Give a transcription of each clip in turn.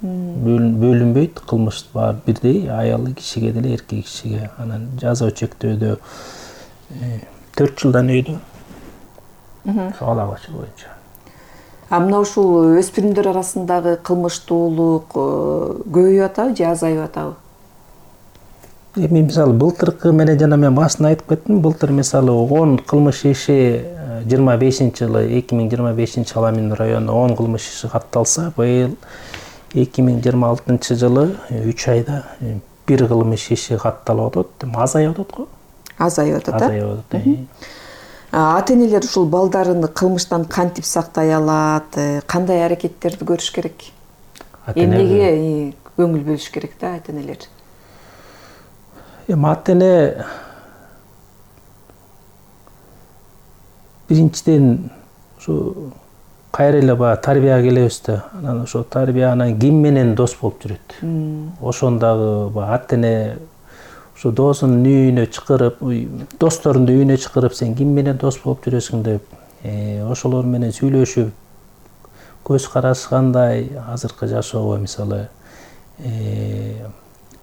бөлүнбөйт, кылмыш баары бирдей, аялы кишиге деле эркек кишиге. Анан жаза чектөөдө 4 жылдан өйдө. Ала башы боюнча. Мына ушул өспүрүмдөр арасындагы кылмыштуулук көбөйүп атабы же азайып атабы? Эми мисалы былтыркы менен жана мен башында айтып кеттим, былтыр мисалы 10 кылмыш иши 25-жылы 2025 Аламин районунда 10 кылмыш иши катталса, быйыл 2026-жылы 3 айда 1 кылмыш иши катталып атат. Азайып атат го? Азайып атат. Азайып атат. Ата-энелер ушул балдарын кылмыштан кантип сактай алат, кандай аракеттерди көрүш керек? Эмнеге көңүл бөлүш керек да ата-энелер? Ата-эне биринчиден ушу кайра эле баягы тарбияга келебиз да, анан ошо тарбиянан ким менен дос болуп жүрөт. Ошондагы ата-эне ушу досунун үйүнө чакырып, досторунду үйүнө чакырып, сен ким менен дос болуп жүрөсүң деп, ошолор менен сүйлөшүп, көз карашы кандай, азыркы жашоого мисалы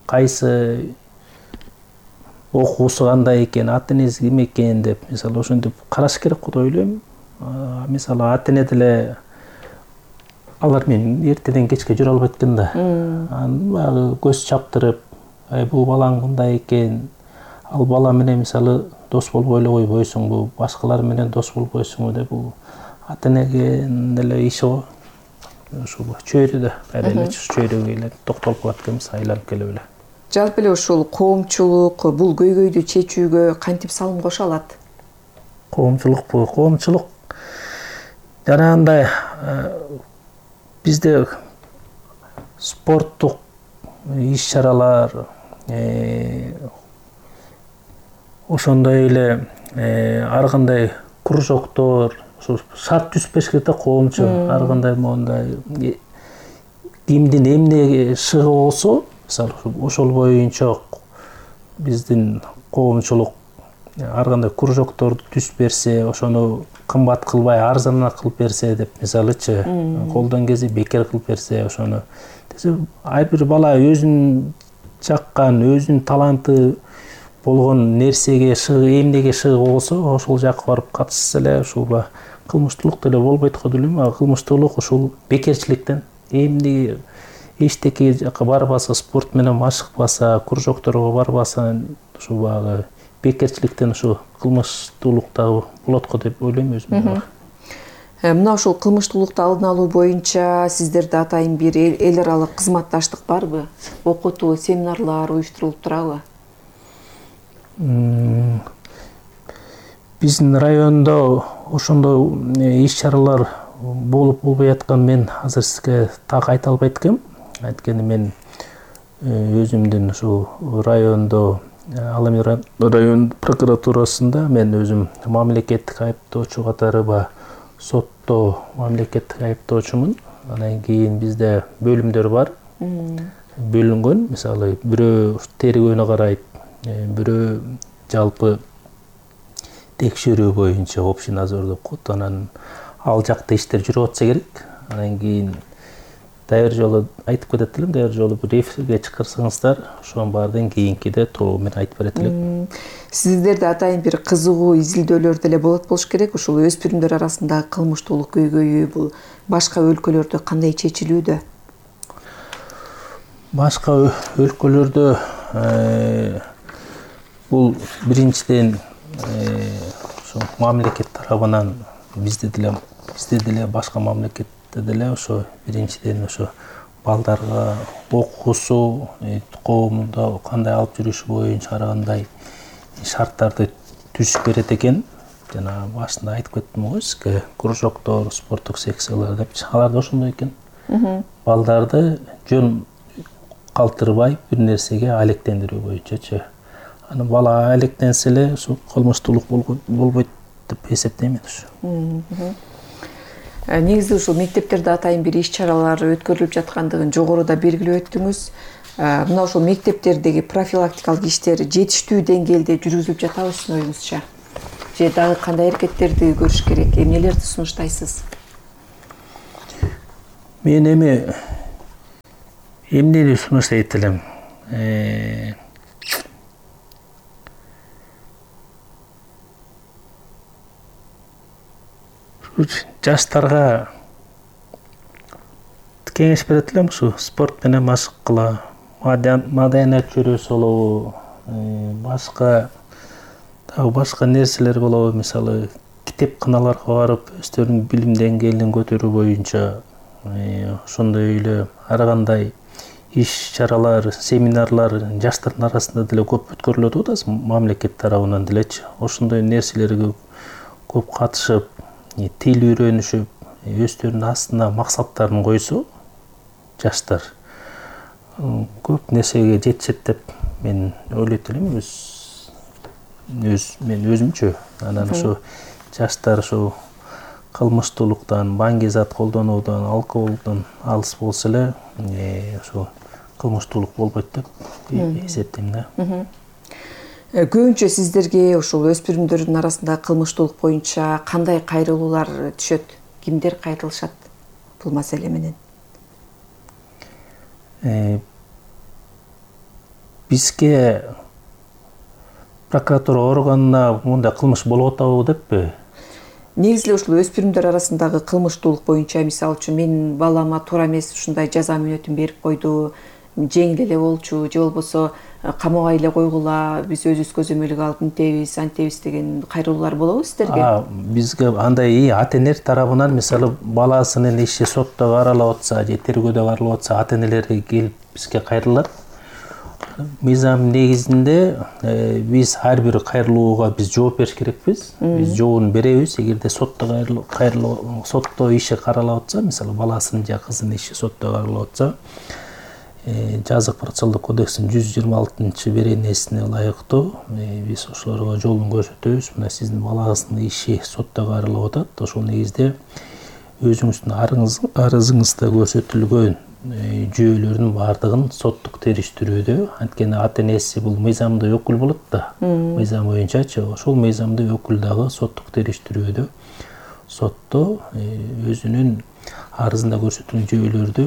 кайсы окуусу кандай экен, ата-энеси ким экен деп, мисалы ошентип караш керек го деп ойлойм. Мисалы ата-эне деле алар менен эртеден кечке жүрө албайт экен да. Анан баягы көз чаптырып, бул балаң мындай экен, ал бала менен мисалы дос болбой эле койбойсуңбу, башкалар менен дос болбойсуңбу деп, бул ата-энеге деле иши го. Ушул чөйрө да, кайра эле чөйрөгө эле токтолуп калат экенбиз, айланып келип эле. Жалпы эле ушул коомчулук бул көйгөйдү чечүүгө кантип салым кошо алат? Коомчулук жанагындай бизде спорттук иш-чаралар, ошондой эле ар кандай кружоктор, ошо шарт түзүшпөш керек да, коомчу ар кандай моундай кимдин эмне шыгы болсо, мисалы ошол боюнча биздин коомчулук ар кандай кружокторду түзүп берсе, ошону кымбат кылбай арзанына кылып берсе деп, мисалычы, колдон келсе бекер кылып берсе, ошону ар бир бала өзүнүн жаккан, өзүнүн таланты болгон нерсеге эмнеге шыгы болсо, ошол жакка барып катышса эле ушул кылмыштуулук деле болбойт го деп ойлойм. Кылмыштуулук ушул бекерчиликтен, эмне эчтеке жака барбаса, спорт менен машыкпаса, кружокторго барбаса, ушул баягы бекерчиликтен ушу кылмыштуулук дагы болот го деп ойлойм өзүм. Мына ушул кылмыштуулукту алдын алуу боюнча сиздерде атайын бир эл аралык кызматташтык барбы? Окутуу, семинарлар уюштурулуп турабы? Биздин райондо ошондой иш-чаралар болуп болбой аткан мен азыр сизге так айта албайт экенм. Анткени мен өзүмдүн ушул райондо, Аламин район прокуратурасында мен өзүм мамлекеттик айыптоочу катары сотто мамлекеттик айыптоочумун. Анан кийин бизде бөлүмдөр бар. Бөлүнгөн, мисалы бирөө тергөөнү карайт, бирөө жалпы текшерүү боюнча общий надзор деп коет. Анан ал жакта иштер жүрүп атса керек. Анан кийин даяр жолу айтып кетет элем, даяр жолу бир эфирге чакырсаңыздар, ошонун баарынан кийинкиде толугу менен айтып берет элем. Сиздерде атайын бир кызыгуу изилдөөлөр деле болот болуш керек. Ушул өспүрүмдөр арасындагы кылмыштуулук көйгөйү бул башка өлкөлөрдө кандай чечилүүдө? Башка өлкөлөрдө бул биринчиден ошо мамлекет тарабынан бизде деле башка мамлекетте деле ошо биринчиден ошо балдарга окуусу, коомдо кандай алып жүрүш боюнча ар кандай шарттарды түзүп берет экен. Жана башында айтып кеттим го сизге, кружоктор, спорттук секциялар деп, аларда ошондой экен. Балдарды жөн калтырбай бир нерсеге алектендирүү боюнчачы. Анан бала алектенсе эле ушул кылмыштуулук болбойт деп эсептейм мен. Негизи ушул мектептерде атайын бир иш-чаралар өткөрүлүп жаткандыгын жогоруда белгилеп өттүңүз. Мына ушул мектептердеги профилактикалык иштер жетиштүү деңгээлде жүргүзүлүп жатабы сиздин оюңузча? Же дагы кандай аракеттерди көрүш керек? Эмнелерди сунуштайсыз? Мен эми эмнени сунуштайт элем? Жаштарга кеңеш берет элем, ушу спорт менен машыккыла, маданият жүрөсү болобу, башка нерселер болобу, мисалы китепканаларга барып өздөрүнүн билим деңгээлин көтөрүү боюнча ошондой эле ар кандай иш-чаралар, семинарлар жаштардын арасында деле көп өткөрүлөт да, мамлекет тарабынан делечи. Ошондой нерселерге көп катышып, тил үйрөнүшүп, өздөрүнүн астына максаттарын койсо, жаштар көп нерсеге жетишет деп мен ойлойт элем, мен өзүмчө. Анан ошо жаштар ошо кылмыштуулуктан, баңги зат колдонуудан, алкоголдон алыс болсо эле, ошо кылмыштуулук болбойт деп эсептейм да. Көбүнчө сиздерге ошол өспүрүмдөрдүн арасында кылмыштуулук боюнча кандай кайрылуулар түшөт? Кимдер кайрылышат бул маселе менен? Бизге прокуратура органына мындай кылмыш болуп атабы деппи? Негизи эле ушул өспүрүмдөр арасындагы кылмыштуулук боюнча, мисалы үчүн менин балама туура эмес ушундай жаза мүнөтүн берип койду, жеңил эле болчу, же болбосо камакка эле койгула, биз өзүбүз көзөмөлгө алып мынтебиз, антебиз деген кайрылуулар болобу сиздерге? Бизге андай ата-энелер тарабынан, мисалы баласынын иши сотто каралып атса же тергөөдө каралып атса, ата-энелер келип бизге кайрылат. Мыйзам негизинде биз ар бир кайрылууга биз жооп бериш керекпиз. Биз жообун беребиз. Эгерде сотто иши каралып атса, мисалы баласынын же кызынын иши сотто каралып атса, жазык процессуалдык кодекстин 126-беренесине ылайыктуу биз ошолорго жолун көрсөтөбүз. Мына сиздин балаңыздын иши сотто каралып атат. Ошол негизде өзүңүздүн арызыңызда көрсөтүлгөн жүйөлөрдүн баардыгын соттук териштирүүдө, анткени ата-энеси бул мыйзамдуу өкүл болот да, мыйзам боюнчачы. Ошол мыйзамдуу өкүл дагы соттук териштирүүдө сотто өзүнүн арызында көрсөтүлгөн жүйөлөрдү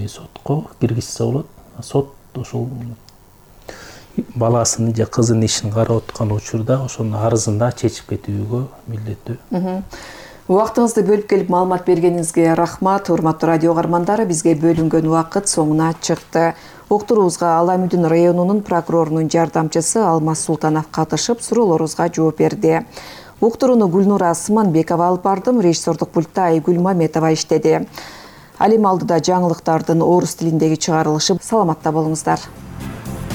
сотко киргизсе болот. Сот ошол баласынын же кызынын ишин карап аткан учурда ошонун арызында чечип кетүүгө милдеттүү. Убактыңызды бөлүп келип маалымат бергениңизге рахмат. Урматтуу радио каармандары, бизге бөлүнгөн убакыт соңуна чыкты. Уктуруубузга Ала Мүдүн районунун прокурорунун жардамчысы Алмаз Султанов катышып, суроолорубузга жооп берди. Уктурууну Гүлнура Сыманбекова алып бардым, режиссердук пультта Айгүл Маметова иштеди. Ал эми алдыда жаңылыктардын орус тилиндеги чыгарылышы. Саламатта болуңуздар.